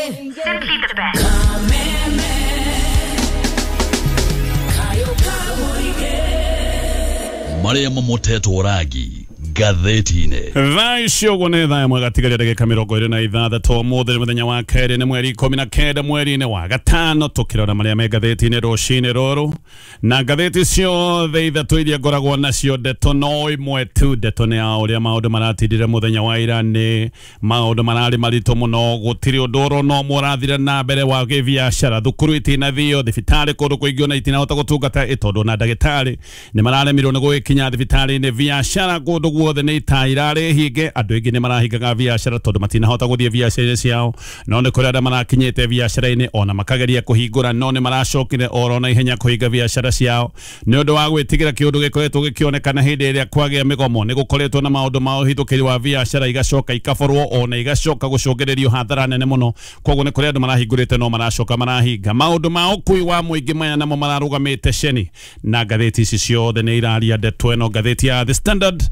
Simply the best. Marĩa mamotetwo rangi ngathĩti-inĩ. Thaa icio ũguo nĩ thaa ĩmwe gatigaria ndagĩka 26 ũmũthĩ nĩ mũthenya wa kerĩ nĩ mweri 19 mweri-inĩ wa gatano tũkĩrora marĩa me ngathĩti-inĩ rũcinĩ rũrũ na ngathĩti ciothe ithatũ iria ngoragwo nacio ndeto no ĩmwe tu. Ndeto nĩ ya ũrĩa maũndũ maratindire mũthenya wa ira, nĩ maũndũ mararĩ maritũ mũno, gũtirĩ ũndũ oro no ũmwe ũrathire na mbere wa gĩbiacara, thukuru itinathio, thibitarĩ kũndũ kũingĩ ona itinahota gũtungata ĩ tondũ ona ndagĩtarĩ nĩ mararemirwo nĩ gũgĩkinya thibitarĩ-inĩ, biacara kũndũ guothe nĩ ita irarĩ hinge, andũ aingĩ nĩ marahingaga biacara tondũ matinahota gũthiĩ biacara-inĩ ciao, no nĩ kũrĩ arĩa marakinyĩte biacara-inĩ ona makageria kũhingũra no nĩ maracokire oro na ihenya kũhinga biacara ciao nĩ ũndũ wa gwĩtigĩra kĩũndũ gĩkoretwo gĩkĩonekana hĩndĩ ĩrĩa kwagĩa mĩgomo. Nĩ gũkoretwo na maũndũ ma ũhithũkĩri wa biacara igacoka ikaborwo ona igacoka gũcũngĩrĩrio hathara nene mũno, koguo nĩ kũrĩ andũ marahingũrĩte no maracoka marahinga. Maũndũ ma ũkui wa mũingĩ maya namo mararũgamĩte ceni na ngathĩti ici ciothe nĩ iraria ndeto ĩno. Ngathĩti ya The Standard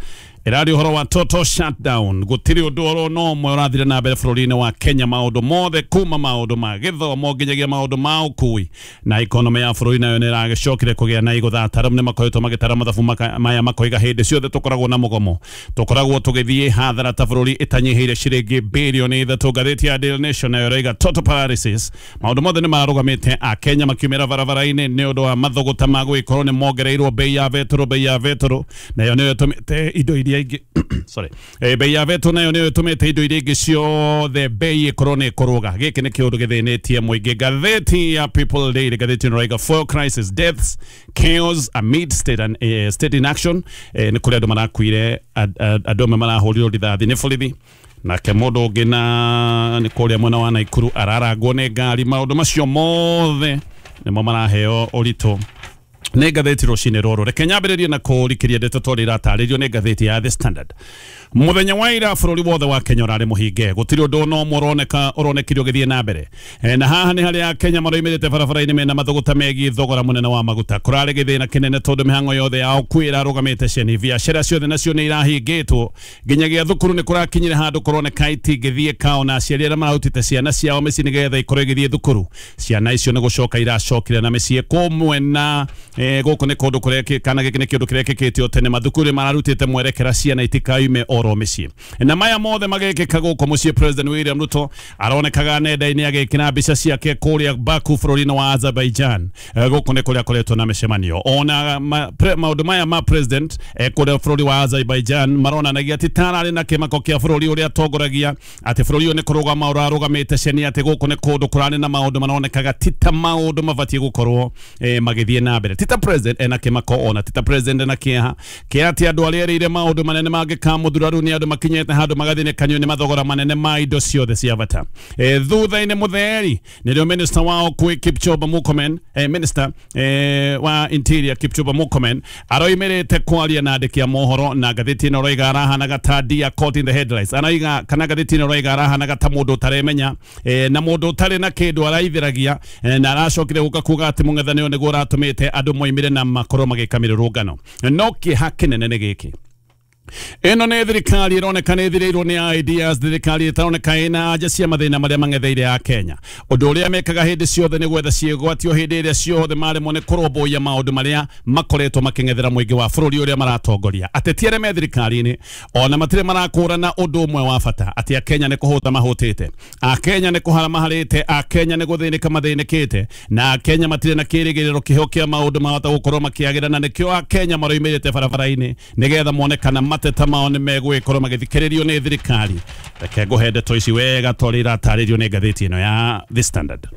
ĩraria ũhoro wa total shutdown, gũtirĩ ũndũ oro no ũmwe ũrathire na mbere bũrũri-inĩ wa Kenya, maũndũ mothe kuma maũndũ ma gĩthomo nginyagia maũndũ ma ũkui na economy ya bũrũri nayo nĩ ĩragĩcokire kũgĩa na igũtha. Ataaramu nĩ makoretwo magĩtara mathabu maya makoiga hĩndĩ ciothe tũkoragwo na mũgomo tũkoragwo tũgĩthiĩ hathara ta bũrũri ĩtanyihĩire ciringi birioni 3. Ngathĩti ya Daily Nation nayo ĩroiga total paralysis, maũndũ mothe nĩ mararũgamĩte, Akenya makiumĩra barabara-inĩ nĩ ũndũ wa mathũgũta ma gũgĩkorwo nĩ mongereirwo bei ya betũrũ, bei ya betũrũ nayo nĩyo ĩtũmĩte indo iria ingĩ sorry, bei ya betũrũ nayo nĩyo ĩtũmĩte indo iria ingĩ ciothe bei ĩkorwo nĩ ĩkũrũga. Gĩkĩ nĩ kĩũndũ gĩthĩnĩtie mũingĩ. Ngathĩti ya People Daily, ngathĩti ĩno ĩroiga fuel crisis, deaths, chaos amid state and state inaction. Nĩ kũrĩ andũ marakuire, andũ amwe marahũrirwo rithathi nĩ borithi, nake mũndũ ũngĩ na nĩ kũrĩa mwena wa Naikuru ararangwo nĩ ngari. Maũndũ macio mothe nĩmo maraheo ũritũ nĩ ngathĩti rũcinĩ rũrũ. Reke nyambĩrĩrie na kũrikĩria ndeto tondũ iratarĩrio nĩ ngathĩti ya The Standard. Mũthenya wa ira bũrũri wothe wa Kenya ũrarĩ mũhinge, gũtirĩ ũndũ no ũmwe ũronekire ũgĩthiĩ na mbere. Na haha nĩ harĩa Kenya maroimĩrĩte barabara-inĩ mena mathũgũta megiĩ thogora mũnene wa maguta. Kũrarĩ gĩthĩna kĩnene tondũ mĩhang'o yothe ya ũkui ĩrarũgamĩte ceni, biacara ciothe nacio nĩ irahingĩtwo, nginyagia thukuru nĩ kũrakinyire handũ kũroneka itingĩthiĩka, ona aciari arĩa mararutĩte ciana ciao mĩciĩ nĩgetha ikorwo igĩthiĩ thukuru, ciana icio nĩ gũcoka iracokire na mĩciĩ kũmwe na gũkũ nĩ kũndũ kũrĩa kana gĩkĩ nĩ kĩũndũ kĩrekĩkĩte o tene, mathukuru mararutĩte mwerekera ciana itikaume oro mĩciĩ. Na maya mothe magekĩka gũkũ mũciĩ, President William Ruto aronekaga nenda-inĩ agĩkĩra mbica ciake kũrĩa Baku bũrũri-inĩ wa Azerbaijan. Gũkũ nĩ kũrĩa akoretwo na mĩcemanio ona maũndũ maya ma president kũrĩa bũrũri wa Azerbaijan maronanagia atĩ tararĩ na kĩmako kĩa bũrũri ũrĩa atongoragia, atĩ bũrũri ũyũ nĩ kũrũgama ũrarũgamĩte ceni, atĩ gũkũ nĩ kũndũ kũrarĩ na maũndũ maronekaga ti ta maũndũ mabatiĩ gũkorwo magĩthiĩ na mbere. Ti ta president ena kĩmako ona ti ta president ena kĩeha kĩa atĩ andũ arĩa erĩire maũndũ manene mangĩkamũthura rĩu nĩ andũ makinyĩte handũ magathĩnĩkanio nĩ mathogora manene ma indo ciothe cia bata. Thutha-inĩ mũtheri nĩrĩo minister wa ũkui Kipchumba Murkomen, minister wa interior Kipchumba Murkomen aroimĩrĩte kwaria na andĩki a mohoro, na ngathĩti ĩno ĩroiga arahanaga ta deer caught in the headlights, araiga kana ngathĩti ĩno ĩroiga arahanaga ta mũndũ ũtaremenya na mũndũ ũtarĩ na kĩndũ araithĩragia, na aracokire gũka kuga atĩ mũng'ethanĩro nĩguo ũratũmĩte andũ moimĩre na makorwo magĩka mĩrũrũngano. No kĩeha kĩnene nĩ gĩkĩ, ĩno nĩ thirikari ĩroneka nĩ ĩthirĩirwo nĩ ideas, thirikari ĩtaroneka ĩna anja cia mathĩna marĩa mang'etheire a Kenya. Ũndũ ũrĩa mekaga hĩndĩ ciothe nĩ gwetha ciĩgwatio hĩndĩ ĩrĩa ciothe maremwo nĩ kũrũmbũiya maũndũ marĩa makoretwo makĩng'ethera mũingĩ wa bũrũri ũrĩa maratongoria. Ateti arĩa me thirikari-inĩ ona matirĩ marakũrana ũndũ ũmwe wa bata, atĩ Akenya nĩ kũhũta mahũtĩte, Akenya nĩ kũhara maharĩte, Akenya nĩ gũthĩnĩka mathĩnĩkĩte, na Akenya matirĩ na kĩrĩgĩrĩro kĩheo kĩa maũndũ mahota gũkorwo makĩagĩra, na nĩkĩo Akenya maroimĩrĩte barabara-inĩ nĩgetha mone kana mateta mao nĩ megũgĩkorwo magĩthikĩrĩrio nĩ thirikari. Reke ngũhe ndeto ici wega tondũ iratarĩrio nĩ ngathĩti ĩno ya The Standard.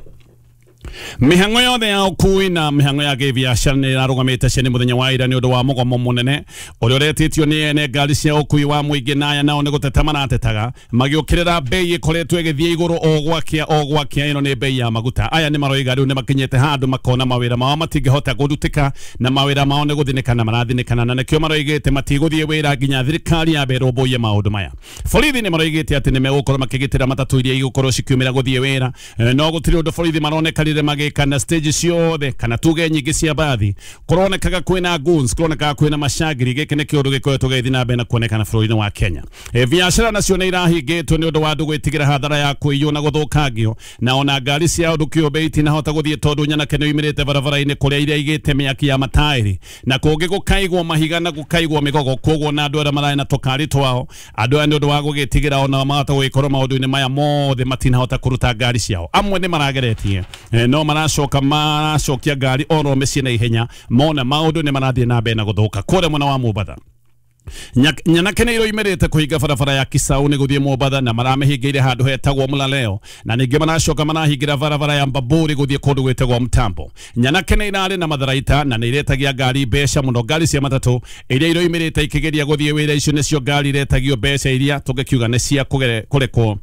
Mĩhang'o yothe ya ũkui na mĩhang'o ya gĩbiacara nĩ ĩrarũgamĩte ceni mũthenya wa ira nĩ ũndũ wa mũgomo mũnene ũrĩa ũretĩtio nĩ ene ngari cia ũkui wa mũingĩ, na aya nao nĩ gũteta maratetaga magĩũkĩrĩra bei ĩkoretwo ĩgĩthiĩ igũrũ o gwakĩa o gwakĩa. Ĩno nĩ bei ya maguta. Aya nĩ maroiga rĩu nĩ makinyĩte handũ makona mawĩra mao matingĩhota kũrutĩka na mawĩra mao nĩ gũthinĩkana marathinĩkana, na nĩkĩo maroigĩte matigũthiĩ wĩra nginya thirikari yambe ĩrũmbũiye maũndũ maya. Borithi nĩ maroigĩte atĩ nĩ megũkorwo makĩgitĩra matatũ iria igũkorwo cikiumĩra gũthiĩ wĩra, no gũtirĩ ũndũ borithi maronekanire magĩka na stage ciothe kana tuge nyingĩ cia bathi kũronekaga kwĩna goons, kũronekaga kwĩna macangiri. Gĩkĩ nĩ kĩũndũ gĩkoretwo gĩgĩthiĩ na mbere na kuonekana bũrũri-inĩ wa Kenya. Biacara nacio nĩ irahingĩtwo nĩ ũndũ wa andũ gwĩtigĩra hathara ya kũiywo na gũthũkangio, na ona ngari cia ũndũ kĩũmbe itinahota gũthiĩ tondũ nyanake nĩ oimĩrĩte barabara-inĩ kũrĩa iria igĩte mĩaki ya mataĩri, na kũngĩ gũkaigwo mahiga na gũkaigwo mĩgogo. Koguo na andũ arĩa mararĩ na tũkari twao, andũ aya nĩ ũndũ wa gũgĩtigĩra ona mahota gũgĩkorwo maũndũ-inĩ maya mothe matinahota kũruta ngari ciao. Amwe nĩ marageretie, no maracoka maracokia ngari oro mĩciĩ na ihenya mona maũndũ nĩ marathiĩ na mbere na gũthũka. Kũrĩa mwena wa Mombatha, nyanake nĩ iroimĩrĩte kũhinga barabara ya Kisau nĩ gũthiĩ Mombatha na maramĩhingĩire handũ hetagwo Mũlaleo, na ningĩ maracoka marahingĩra barabara ya Mbaburi gũthiĩ kũndũ gwĩtagwo Mtambo. Nyanake nĩ irarĩ na matharaita na nĩ iretagia ngari mbeca mũno, ngari cia matatũ iria iroimĩrĩte ikĩgeria gũthiĩ wĩra icio nĩcio ngari iretagio mbeca iria tũngĩkiuga nĩ cia kũrekwo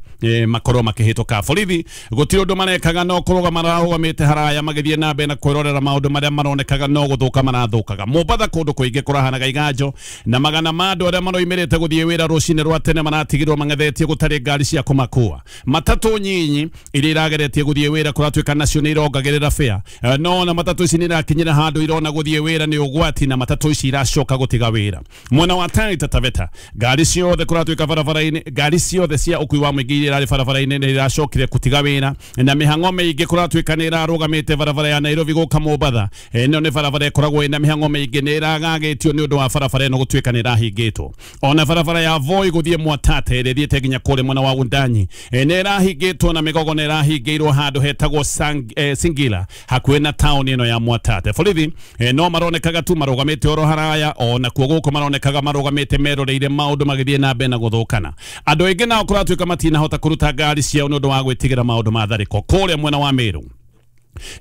makorwo makĩhĩtũka. Borithi gũtirĩ ũndũ marekaga no kũrũgama mararũgamĩte haraya magĩthiĩ na mbere na kwĩrorera maũndũ marĩa maronekaga no gũthũka marathũkaga. Mombatha kũndũ kũingĩ kũrahanaga iganjo na magana ma andũ arĩa maroimĩrĩte gũthiĩ wĩra rũcinĩ rwa tene maratigirwo mang'ethetie gũtarĩ ngari cia kũmakua. Matatũ nyinyi iria irageretie gũthiĩ wĩra kũratuĩka nacio nĩ irongagĩrĩra fare, no na matatũ ici nĩ irakinyĩra handũ irona gũthiĩ wĩra nĩ ũgwati na matatũ ici iracoka gũtiga wĩra. Mwena wa Taita Taveta ngari ciothe kũratuĩka barabara-inĩ, ngari ciothe cia ũkui wa mũingĩ iria irarĩ barabara-inĩ nĩ iracokire gũtiga wĩra, na mĩhang'o mĩingĩ kũratuĩka nĩ ĩrarũgamĩte barabara ya Nairobi gũka Mombatha. Ĩno nĩ barabara ĩkoragwo ĩna mĩhang'o mĩingĩ, nĩ ĩragagĩtio nĩ ũndũ wa barabara ĩno gũtuĩka nĩ ĩrahingĩtwo. Ona barabara ya Voi gũthiĩ Mwatate ĩrĩa ĩthiĩte nginya kũrĩa mwena wa Wundanyi nĩ ĩrahingĩtwo na mĩgogo nĩ ĩrahingĩirwo handũ hetagwo Singila hakuhĩ na taũni ĩno ya Mwatate. Borithi no maronekaga tu marũgamĩte oro haraya, ona kuo gũkũ maronekaga marũgamĩte meroreire maũndũ magĩthiĩ na mbere na gũthũkana. Andũ aingĩ nao kũratuĩka matinahota kũruta ngari ciao nĩ ũndũ wa gwĩtigĩra maũndũ ma tharĩko. Kũrĩa mwena wa Meru,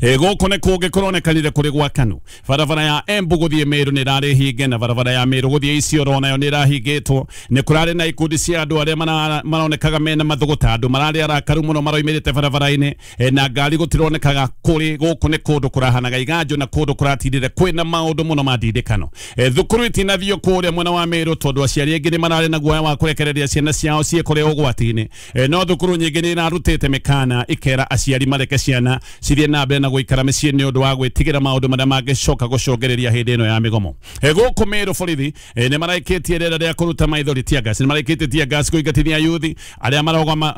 gũkũ nĩ kũngĩ kũronekanire kũrĩ gwakanu. Barabara ya Embu gũthiĩ Meru nĩ ĩrarĩ hinge, na barabara ya Meru gũthiĩ Isiolo nayo nĩ ĩrahingĩtwo. Nĩ kũrarĩ na ikundi cia andũ arĩa maronekaga mena mathũgũta, andũ mararĩ arakaru mũno maroimĩrĩte barabara-inĩ, na ngari gũtironekaga kũrĩ. Gũkũ nĩ kũndũ kũrahanaga iganjo na kũndũ kũratindire kwĩna maũndũ mũno ma ndindĩkano. Thukuru itinathiio kũrĩa mwena wa Meru tondũ aciari aingĩ nĩ mararĩ na guoya wa kũrekereria ciana ciao ciĩ kũrĩa ũgwati-inĩ. No thukuru nyingĩ nĩ irarutĩte mĩkana ikera aciari mareke ciana cithiĩ na mbere na gũikara mĩciĩ nĩ ũndũ wa gwĩtigĩra maũndũ marĩa mangĩcoka gũcũngĩrĩria hĩndĩ ĩno ya mĩgomo. Gũkũ Meru borithi nĩ maraikĩtie rĩera rĩa kũruta maithori tear gas, nĩ maraikĩtie tear gas kũingatithia yuthi arĩa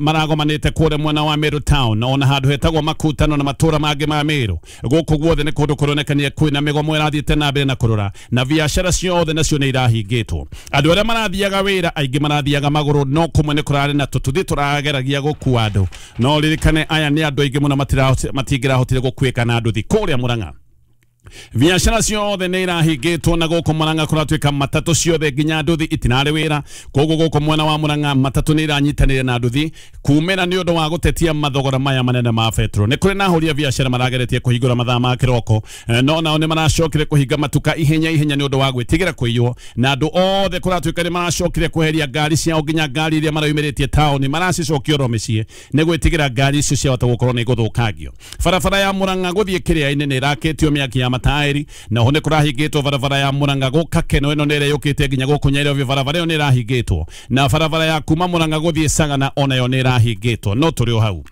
maragomanĩte kũrĩa mwena wa Meru town na ona handũ hetagwo Makutano na matũra mangĩ ma Meru. Gũkũ guothe nĩ kũndũ kũronekania kwĩna mĩgomo ĩrathiĩte na mbere na kũrora, na biacara ciothe nacio nĩ irahingĩtwo. Andũ arĩa marathiaga wĩra aingĩ marathiaga magũrũ, no kũmwe nĩ kũrarĩ na tũtuthi tũrageragia gũkua andũ. No ririkane aya nĩ andũ aingĩ mũno matingĩrahotire gũkuĩka na nduthi. Kũrĩa Murang'a biacara ciothe nĩ irahingĩtwo, na gũkũ Murang'a kũratuĩka matatũ ciothe nginya nduthi itinarĩ wĩra. Koguo gũkũ mwena wa Murang'a matatũ nĩ iranyitanĩire na nduthi kumĩra nĩ ũndũ wa gũtetia mathogora maya manene ma betro. Nĩ kũrĩ na ahũri a biacara marageretie kũhingũra mathaa ma kĩroko, no nao nĩ maracokire kũhinga matuka ihenya ihenya nĩ ũndũ wa gwĩtigĩra kũiywo, na andũ othe kũratuĩka nĩ maracokire kweheria ngari ciao nginya ngari iria maraumĩrĩtie taũni maracicokia oro mĩciĩ nĩ gwĩtigĩra ngari icio ciahota gũkorwo nĩ igũthũkangio. Barabara ya Murang'a gũthiĩ Kĩrĩa-inĩ nĩ ĩrakĩtio mĩaki ya mataĩri, na ho nĩ kũrahingĩtwo barabara ya Murang'a gũka Keno ĩno nĩ ĩrĩa yũkĩte nginya gũkũ Nairobi, barabara ĩyo nĩ ĩrahingĩtwo, na barabara ya kuma Murang'a gũthiĩ Sagana onayo nĩ ĩrahingĩtwo. No tũrĩ o hau,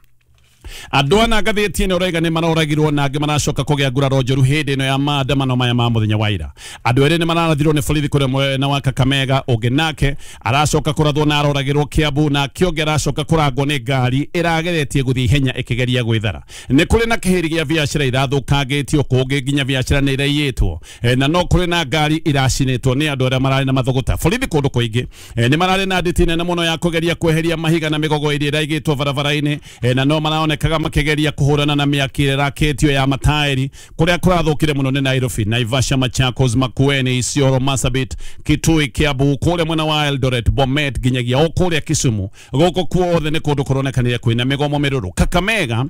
andũ ana ngathĩti ĩno ũraiga nĩ maroragirwo na angĩ maracoka kũgĩa nguraro njũru hĩndĩ ĩno ya maandamano maya ma mũthenya wa ira. Andũ erĩ nĩ mararathirwo nĩ borithi kũrĩa mwena wa Kakamega, ũngĩ nake aracoka kũrathwo na aroragĩrwo Kiambu, nake ũngĩ aracoka kũrangwo nĩ ngari ĩrageretie gũthiĩ ihenya ĩkĩgeria gwĩthara. Nĩ kũrĩ na kĩhĩri gĩa biacara irathũkangĩtio, kũngĩ nginya biacara nĩ iraiyĩtwo, na no kũrĩ na ngari iracinĩtwo nĩ andũ arĩa mararĩ na mathũgũta. Borithi kũndũ kũingĩ nĩ mararĩ na nditi nene mũno ya kũgeria kweheria mahiga na mĩgogo ĩrĩa ĩraigĩtwo barabara-inĩ, na no maronekaga makĩgeria kũhũrana na mĩaki ĩrakĩtio ya mataĩri. Kũrĩa kũrathũkire mũno nĩ Nairobi, Naivasha, Machakos, Makueni, Isiolo, Marsabit, Kitui, Kiambu, kũrĩa mwena wa Eldoret, Bomet nginyagia o kũrĩa Kisumu. Gũkũ kuothe nĩ kũndũ kũronekanire kwĩna mĩgomo mĩrũrũ. Kakamega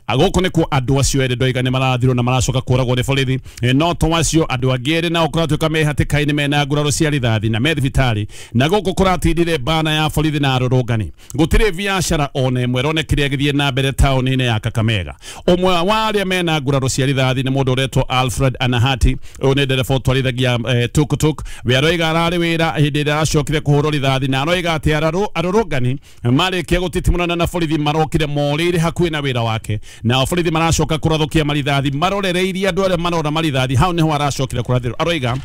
gũkũ nĩkuo andũ acio erĩ ndoiga nĩ marathirwo na maracoka kũragwo nĩ borithi, no to acio andũ angĩ erĩ nao kũratuĩka me hatĩka-inĩ mena nguraro cia rithathi na me thibitarĩ, na gũkũ kũratindire bana ya borithi na arũrũngani. Gũtirĩ biacara ona ĩmwe ĩronekire ĩgĩthiĩ na mbere taũni. taũni-inĩ ya Kakamega. Ũmwe wa arĩa mena nguraro cia rithathi nĩ mũndũ ũretwo Alfred Anahati. Ũyũ nĩ ndereba ũtwarithagia tuktuk. We aroiga ararĩ wĩra hĩndĩ ĩrĩa aracokire kũhũrwo rithathi, na aroiga atĩ arũrũngani marĩkia gũtitimũrana na borithi marokire morĩire hakuhĩ na wĩra wake, nao borithi maracoka kũrathũkia marithathi marorereirie andũ arĩa marora marithathi. Hau nĩho aracokire kũrathĩrwo. Aroiga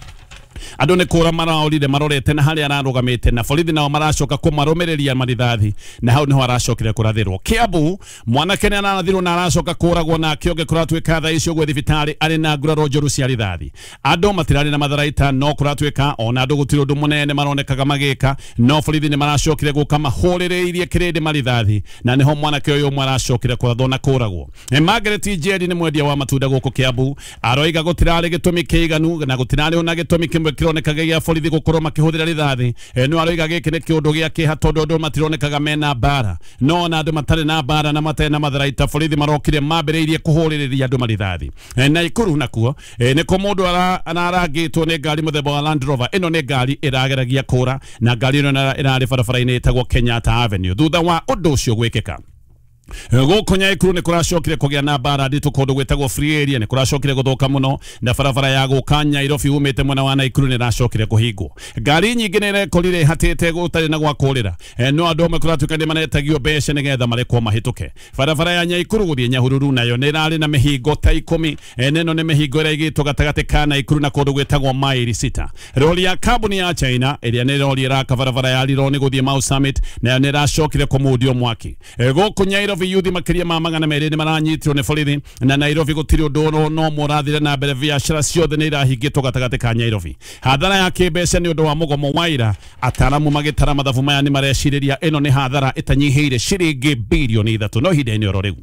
andũ nĩ kũra maraorire marorete na harĩa ararũgamĩte, na borithi nao maracoka kũmarũmĩrĩria marithathi, na hau nĩho aracokire kũrathĩrwo. Kiambu mwanake nĩ ararathirwo na aracoka kũragwo, nake ũngĩ kũratuĩka thaa icio ũguo thibitarĩ arĩ na nguraro njũru cia rithathi. Andũ matirarĩ na matharaita, no kũratuĩka ona andũ gũtirĩ ũndũ mũnene maronekaga magĩka, no borithi nĩ maracokire gũka mahũrĩrĩirie kĩrĩndĩ marithathi, na nĩho mwanake ũyũ ũmwe aracokire kũrathwo na kũragwo. Margaret Njeri nĩ mwendia wa matunda gũkũ Kiambu, aroiga gũtirarĩ gĩtũmi kĩiganu na gũtirarĩ ona gĩtũmi kĩmwe kĩronekaga gĩa borithi gũkorwo makĩhũthĩra rithathi. No aroiga gĩkĩ nĩ kĩũndũ gĩa kĩeha tondũ andũ matironekaga mena mbara, no ona andũ matarĩ na mbara na matarĩ na matharaita borithi marokire mambĩrĩirie kũhũrĩrĩria andũ marithathi. Naikuru nakuo nĩkuo mũndũ ararangĩtwo nĩ ngari mũthemba wa Land Rover. Ĩno nĩ ngari ĩrageragia kũra, na ngari ĩno ĩrarĩ barabara-inĩ ĩtagwo Kenyatta Avenue. Thutha wa ũndũ ũcio gwĩkĩka gũkũ Nyaikuru nĩ kũracokire kũgĩa na mbara nditũ kũndũ gwĩtagwo Free Area. Nĩ kũracokire gũthũka mũno, na barabara ya gũka Nyairobi umĩte mwena wa Naikuru nĩ ĩracokire kũhingwo. Ngari nyingĩ nĩ irekorire ihatĩte gũtarĩ na gwa kũrĩra, no andũ amwe kũratuĩka nĩ maretagio mbeca nĩgetha marekwo mahĩtũke. Barabara ya Nyaikuru gũthiĩ Nyahururu nayo nĩ ĩrarĩ na mĩhingo ta 10. Ĩno nĩ mĩhingo ĩrĩa ĩigĩtwo gatagatĩ ka Naikuru na kũndũ gwĩtagwo maili 6. Rori ya kambuni ya China ĩrĩa nĩ rori ĩraka barabara ya Rironi gũthiĩ Mau Summit nayo nĩ ĩracokire kũmundio mwaki. Gũkũ Nyairobi yuthi makĩria ma 200 nĩ maranyitirwo nĩ borithi, na Nairobi gũtirĩ ũndũ no mũrathire na mbere, biacara ciothe nĩ irahingĩtwo gatagatĩ ka Nairobi. Hathara ya kĩmbeca nĩ ũndũ wa mũgomo wa ira, ataaramu magĩtara mathabu maya nĩ marecirĩria ĩno nĩ hathara ĩtanyihĩire ciringi bilioni 3 no ihinda-inĩ oro rĩu.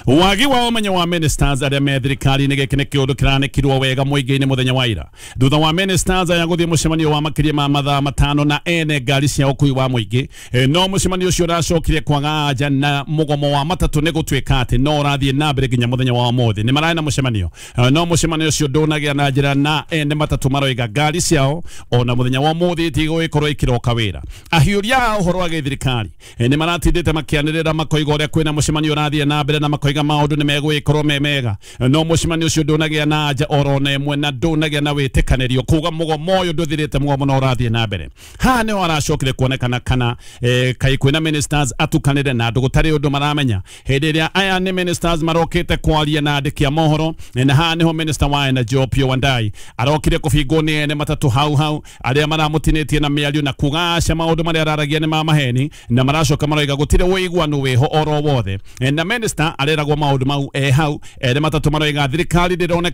Wagi wa ũmenyo wa ministers arĩa me thirikari-inĩ, gĩkĩ nĩ kĩũndũ kĩranĩkirwo wega mũingĩ-inĩ mũthenya wa ira thutha wa ministers aya gũthiĩ mũcemanio wa makĩria ma mathaa 5 na ene ngari cia ũkui wa mũingĩ. No mũcemanio ũcio ũracokire kwaga anja na mũgomo wa matatũ nĩ gũtuĩka atĩ no ũrathiĩ na mbere nginya mũthenya wa ũmũthĩ. Nĩ mararĩ na mũcemanio, no mũcemanio ũcio ndũnagĩa na njĩra, na ene matatũ maroiga ngari ciao ona mũthenya wa ũmũthĩ itigũgĩkorwo ikĩroka wĩra. Ahiũria a ũhoro wa gĩthirikari nĩ maratindĩte makĩanĩrĩra makoiga ũrĩa kwĩna mũcemanio ũrathiĩ na mbere, na makoiga maũndũ nĩ megũgĩkorwo me mega, no mũcemanio ũcio ndũnagĩa na anja oro na ĩmwe na ndũnagĩa na wĩtĩkanĩrio kuga mũgomo ũyũ ndũthirĩte, mũgomo no ũrathiĩ na mbere. Haha nĩho aracokire kuonekana kana kaĩ kwĩna ministers atukanĩre na andũ gũtarĩ ũndũ maramenya. Hĩndĩ ĩrĩa aya nĩ ministers marokĩte kwaria na andĩki a mohoro, na haha nĩho minister wa Energy Opiyo Wandayi arokire kũbingwo nĩ ene matatũ hau hau arĩa maramũtinĩtie na mĩario na kuga aca maũndũ marĩa araragia nĩ ma maheni, na maracoka maroiga gũtirĩ ũiguano wĩho oro wothe. Na minister areragwo maũndũ mau hau ene matatũ maroiga thirikari ndĩroneka